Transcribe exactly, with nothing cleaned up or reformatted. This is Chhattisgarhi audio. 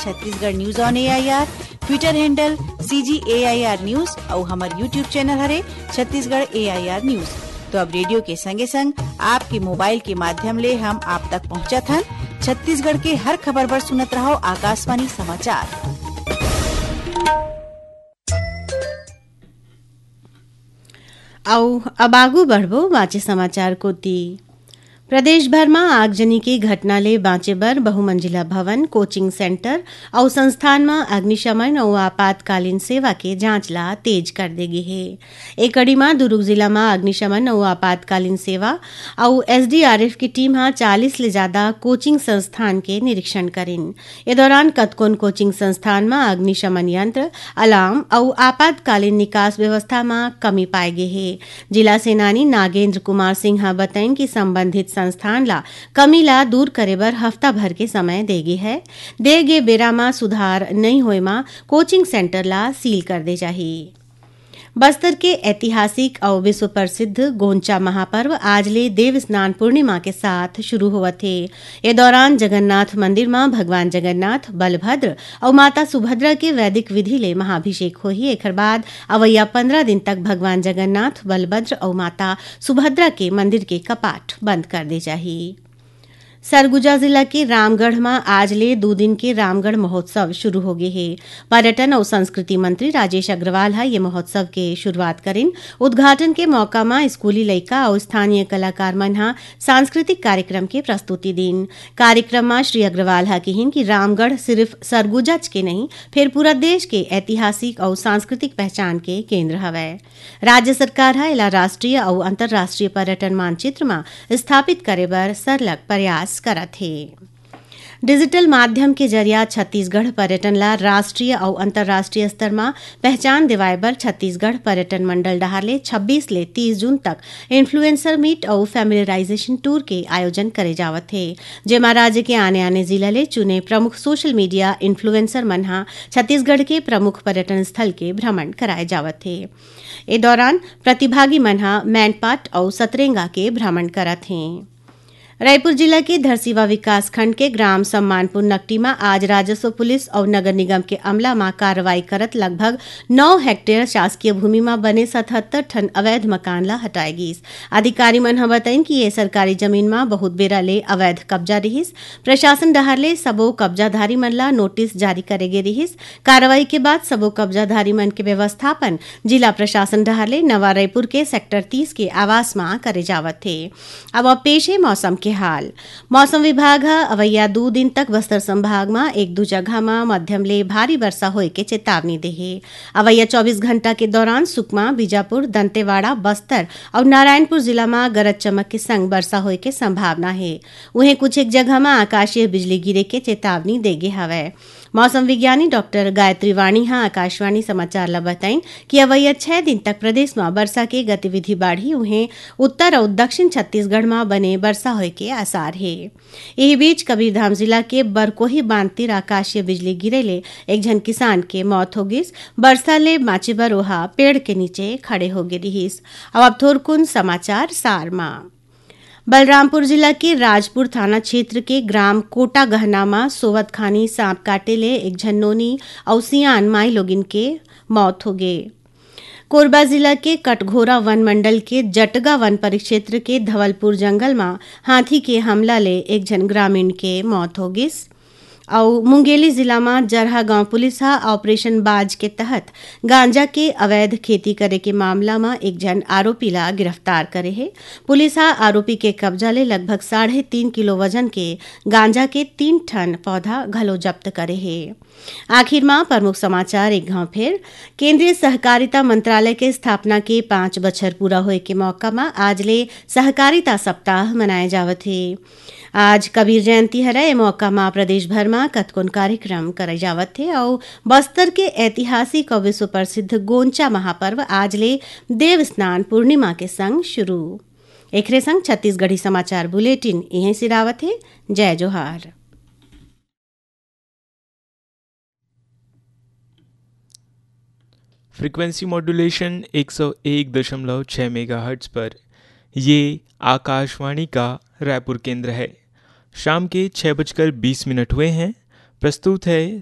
Chhattisgarh news on AIR, Twitter handle CG AIR news अउ हमर YouTube चैनल हरे छत्तीसगढ़ एआईआर न्यूज। तो अब रेडियो के संगे संग आपके मोबाइल के माध्यम ले हम आप तक पहुंचत हन। छत्तीसगढ़ के हर खबर बर सुनत रहो आकाशवाणी समाचार। अउ अब आगू बढ़बो बाँचे समाचार कोति। प्रदेश भर म आगजनी के घटना ले बाँचे बर बहुमंजिला भवन, कोचिंग सेंटर अउ संस्थान म अग्निशमन अउ आपातकालीन सेवा के जांच ला तेज कर दे गे हे। ए कड़ी म दुरूग जिला म अग्निशमन अउ आपातकालीन सेवा अउ एसडीआरएफ की टीम ह चालीस ले जादा कोचिंग संस्थान के निरीक्षण करिन। ए दौरान कतकोन कोचिंग संस्थान म अग्निशमन यंत्र, अलार्म अउ आपातकालीन निकास व्यवस्था म कमी पाए गे हे। जिला सेनानी नागेंद्र कुमार सिंह ह बतइन कि संबंधित संस्थान ला कमी ला दूर करे बर हफ्ता भर के समय दे गे है। दे गे बेरा म सुधार नइ होए म कोचिंग सेंटर ला सील कर दे जाही। बस्तर के ऐतिहासिक अउ विश्व प्रसिद्ध गोंचा महापर्व आज ले देव स्नान पूर्णिमा के साथ शुरू होवत हे। ए दौरान जगन्नाथ मंदिर म भगवान जगन्नाथ, बलभद्र अउ माता सुभद्रा के वैदिक विधि ले महाभिषेक होही। एखर बाद अवइया पंद्रह दिन तक भगवान जगन्नाथ, बलभद्र अउ माता सुभद्रा के मंदिर के कपाट बंद कर दे जाही। सरगुजा जिला के रामगढ़ म आज ले दू दिन के रामगढ़ महोत्सव शुरू हो गे हे। पर्यटन अउ संस्कृति मंत्री राजेश अग्रवाल ह ये महोत्सव के शुरुआत करिन। उद्घाटन के मौका म स्कूली लइका अउ स्थानीय कलाकार मन ह सांस्कृतिक कार्यक्रम के प्रस्तुति दीन। कार्यक्रम म श्री अग्रवाल ह किहिन कि रामगढ़ सिर्फ सरगुजाच के नहीं, फेर पूरा देश के ऐतिहासिक अउ सांस्कृतिक पहचान के केंद्र हवय। राज्य सरकार ह एला राष्ट्रीय अउ अंतर्राष्ट्रीय पर्यटन मानचित्र म स्थापित करे बर सरलग प्रयास करत हे। डिजिटल माध्यम के जरिया छत्तीसगढ़ पर्यटन ला राष्ट्रीय अउ अंतर्राष्ट्रीय स्तर म पहचान दिवाए बर छत्तीसगढ़ पर्यटन मंडल डहार ले छब्बीस ले तीस जून तक इन्फ्लुएंसर मीट अउ फैमिलियराइजेशन टूर के आयोजन करे जावत हे, जेमा राज्य के आने-आने जिला ले चुने प्रमुख सोशल मीडिया इन्फ्लुएंसर मन ह छत्तीसगढ़ के प्रमुख पर्यटन स्थल के भ्रमण कराए जावत हे। ए दौरान प्रतिभागी मन ह मैनपाट अउ सतरेंगा के भ्रमण करत हें। रायपुर जिला के धरसीवा विकास खंड के ग्राम सम्मानपुर नकटी म आज राजस्व पुलिस अउ नगर निगम के अमला म कार्रवाई करत लगभग नौ हेक्टेयर शासकीय भूमि म बने सतहत्तर ठन अवैध मकान ल हटाए गीस। अधिकारी मन ह बतइन कि ये सरकारी जमीन म बहुत बेरा ले अवैध कब्जा रिहिस। प्रशासन डहार ले सबो कब्जाधारी मन ल नोटिस जारी करे गे रिहिस। कार्रवाई के बाद सबो कब्जाधारी मन के व्यवस्थापन जिला प्रशासन डहार ले नवा रायपुर के सेक्टर तीस के आवास म करे जावत हे। अब, अब पेश हे मौसम के हाल। मौसम विभाग ह अवइया दू दिन तक बस्तर संभाग म एक दू जगह म मध्यम ले भारी वर्षा होए के चेतावनी दे हे। अवइया चौबीस घंटा के दौरान सुकमा, बीजापुर, दंतेवाड़ा, बस्तर अउ नारायणपुर जिला म गरज चमक के संग वर्षा होए के संभावना हे। उहें, कुछ एक जगह म आकाशीय बिजली गिरे के चेतावनी दे गे हवय। मौसम विज्ञानी डॉक्टर गायत्री वाणी ह आकाशवाणी समाचार ल बताइन कि अवइया छह दिन तक प्रदेश म वर्षा के गतिविधि बाढ़ही। उहें, उत्तर अउ दक्षिण छत्तीसगढ़ म बने वर्षा होए के आसार हे। इही बीच, कबीरधाम जिला के बरकोही बांध तीर आकाशीय बिजली गिरे ले एक झन किसान के मौत हो गिस। वर्षा ले बांचे बर ओहा पेड़ के नीचे खड़े हो गे रिहिस। अब, अब थोरकुन समाचार सार म। बलरामपुर जिला के राजपुर थाना क्षेत्र के ग्राम कोटा गहना म सोवत खानी सांप काटे ले एक झन नोनी अउ सियान माई लोगिन के मौत हो गे। कोरबा जिला के कटघोरा वन मंडल के जटगा वन परिक्षेत्र के धवलपुर जंगल म हाथी के हमला ले एक झन ग्रामीण के मौत हो गिस। अउ मुंगेली जिला म जरहा गांव पुलिस ह ऑपरेशन बाज के तहत गांजा के अवैध खेती करे के मामला म एक झन आरोपी ला गिरफ्तार करे हे। पुलिस ह आरोपी के कब्जा ले लगभग साढ़े तीन किलो वजन के गांजा के तीन ठन पौधा घलो जब्त करे हे। आखिर म प्रमुख समाचार एक घांव फेर। केंद्रीय सहकारिता मंत्रालय के स्थापना के पाँच बछर पूरा होए के मौका म आज ले सहकारिता सप्ताह मनाए जावत हे। आज कबीर जयंती हरय, ए मौका म प्रदेश भर म कतकोन कार्यक्रम करे जावत हे अउ बस्तर के ऐतिहासिक अउ विश्व प्रसिद्ध गोंचा महापर्व आज ले देव स्नान पूर्णिमा के संग शुरू। एखरे संग छत्तीसगढ़ी समाचार बुलेटिन इहें सिरावत हे। जय जोहार। फ्रीक्वेंसी मॉड्यूलेशन एक सौ एक दशमलव छः मेगाहर्ट्ज पर। ये आकाशवाणी का रायपुर केंद्र है। शाम के छः बजकर बीस मिनट हुए हैं। प्रस्तुत है